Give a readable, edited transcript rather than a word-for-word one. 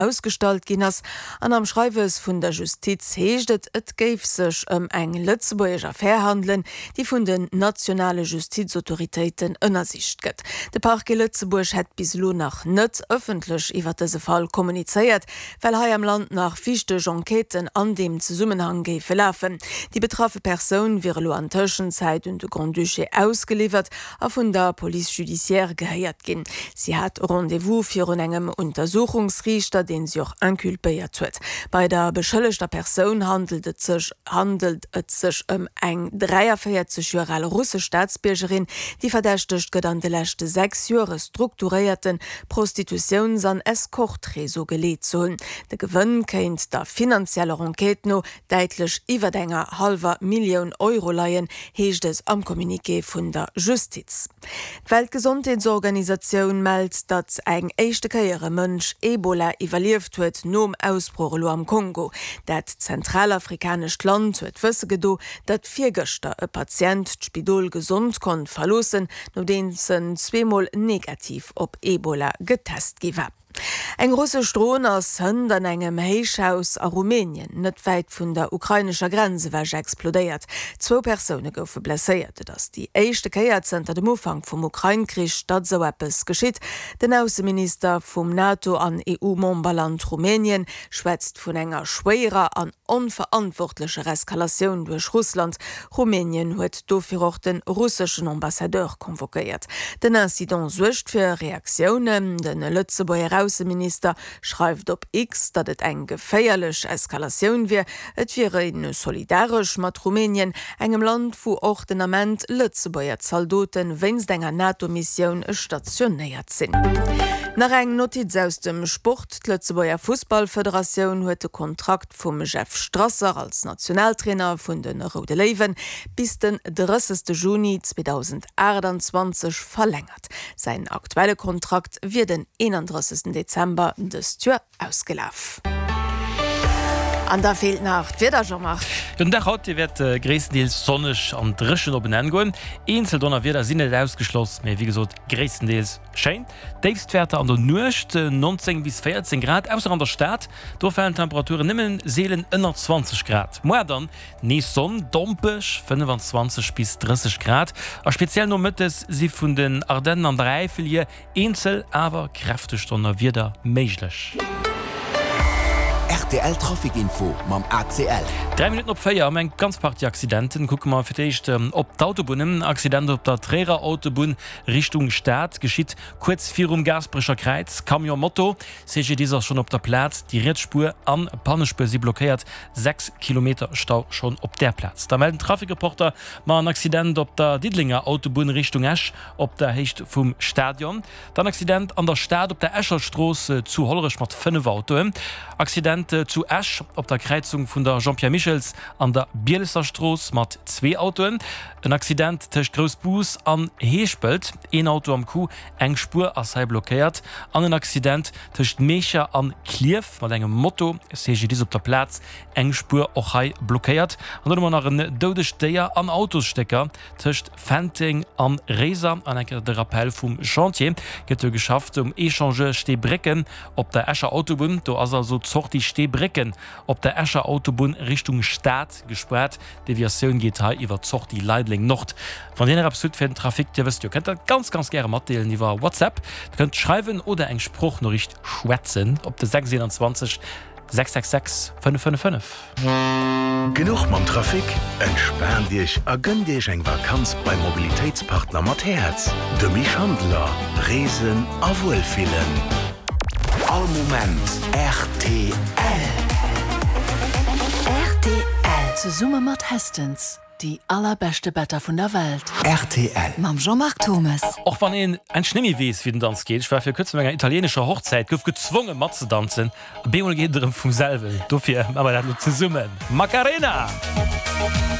Ausgestallt ginn ass. An am Schreiwes vun der Justiz heescht et, et géif sech ëm eng lëtzebuergesch Affär handelen, déi vun den nationale Justizautoritéiten ënnersicht gëtt. De Parquet Lëtzebuerg hätt bis elo nach net ëffentlech iwwer dëse Fall kommunizéiert, well hei am Land nach wichteg Enquêten an deem Zesummenhang géife lafen. Déi betraffe Persoun wier elo an Tëschenzäit un de Grand-Duché ausgeliwwert a vun der Police judiciaire gehéiert ginn. Si hat Rendez-vous virun engem Untersuchungsriichter, deen si och inculpéiert huet. Bei der beschëllegter Persoun handelt et sech handelt et sech ëm eng 43 Joer al russesch Staatsbiergerin, déi verdächtegt gëtt, an de leschte 6 Joer e strukturéierte Prostitutiouns an Escorte-Réseau geleet ze hunn. De Gewënn kéint der finanzieller Enquête no däitlech iwwert enger hallwer Millioun Euro leien, heescht et am Communiqué vun der Justiz. D'Weltgesondheetsorganisatioun mellt, datt eng éischte Kéier e Mënsch Ebola iwwerlieft huet, nom Ausbroch elo am Kongo. Dat zentralafrikanescht Land huet wësse gedo, datt virgëschter e Patient d'Spidol gesond konnt verloossen, nodeems en zweemol negativ op Ebola getest gi war. Eng russesch Dron ass hënt an engem Héichhaus a Rumänien, net wäit vun der ukrainescher Grenz ewech, explodéiert. Zwou Persoune goufe blesséiert. Et ass déi éischte Kéier zënter dem Ufank vum Ukrain-Krich, datt esou eppes geschitt. Den Ausseminister vum NATO an EU-Memberland Rumänien schwätzt vun enger schwéierer an onverantwortlecher Eskalatioun duerch Russland. Rumänien huet dofir och de russeschen Ambassadeur convoquéiert. Den Incident suergt fir Reaktiounen. De Lëtzebuerger Ausseminister schreift op X, datt et eng geféierlech Eskalatioun wier. Et wier ee solidaresch mat Rumänien, engem Land, wou och den Ament Lëtzebuerger Zaldote wéinst enger NATO-Missioun stationéiert sinn. Nach eng Notiz aus dem Sport, D'Lëtzebuerger Fussballfederatioun huet de Kontrakt vum Jeff Strasser als Nationaltrainer vun de Roude Léiwen bis den 30 Juni 2028 verlängert. Säin aktuelle Kontrakt wier den 31 Dezember dëst Joer ausgelaf. An da feelt nach d'Wieder, Jean-Marc. Jo, den Dag haut, dee wäert gréisstendeels sonneg an dréchen op en Enn goen. Eenzel Donnerwieder sinn net ausgeschloss, mee wéi gesot gréisstendeels schéin. Déifstwäerter an der Nuecht 19 bis 14 Grad, ausser an der Stad, do falen d'Temperaturen nëmme seelen ënner 20 Grad. Moar dann nees Sonn, dompeg 25 bis 30 Grad a speziell nomëttes si vun den Ardennen an der Äifel hier eenzel awer kräfteg Donnerwieder méiglech. Rtl Trafic Info mam ACL. 3 Minutten op 4 am eng ganz Partie Accidenten. Kucke mer fir d'éischt op d'Autobunnen. Accident op der Tréierer Autobunn Richtung Stad geschitt kuerz virum Gaasperecher Kräiz. Camion Moto, CGDIS ass schonn op der Plaz. Déi riets Spuer an Pannespuer si blockéiert. 6 Kilometer Stau schonn op där Plaz. Da mellt den Trafic-Reporter ma en Accident op der Diddelenger Autobunn Richtung Esch op der Héicht vum Stadion. Dann Accident an der Stad op der Escher Strooss zu Hollerech mat 5 Autoen. Accident zu Esch op der Kräizung vun der Jean-Pierre Michels an der Bielesser Strooss mat zwee Autoen. En Accident tëscht Groussbus an Heeschpelt, een Auto am Coup, eng Spuer ass hei blockéiert. An en Accident tëscht Meecher an Klierf mat engem Moto, CGDIS op der Plaz, eng Spuer och hei blockéiert. An dann hu mer nach en doudegt Déier an Autosstécker tëscht Fenteng an Réiser. An eng Kéier de Rappel vum Chantier, gëtt jo geschafft um Echangeur Steebrécken op der Escher Autobunn. Do ass also d'Sortie Steebrécken op der Escher Autobunn Richtung Stad gespaart. D'Deviatioun geet hei iwwer d'Sortie Leideleng Nord. Wann Dir nach eppes hutt fir den Trafic, Dir wësst jo, kënnt dat ganz, ganz gäre matdeelen iwwer WhatsApp. Dir kënnt schreiwen oder eng Sproochnoriicht schwätzen op de 621 666 555. Genuch mam Trafic? Entspaant Iech a gënnt Iech eng Vakanz beim Mobilitéitspartner mat Häerz, dem Schandeler. Reesen a Wuelfillen. All Moment rtl. Rtl. Zesumme mat Hästens, déi allerbeschte Better vun der Welt. Rtl. Mam Jean-Marc Thomes. Och wann een endlech nemmi weess wéi den Danz geet, ech war vir kuerzem op enger italienescher Hochzäit, gouf gezwonge matzedanzen, a bemol geet et erëm vum selwen, dofir maache mer dat elo zesummen, Macarena!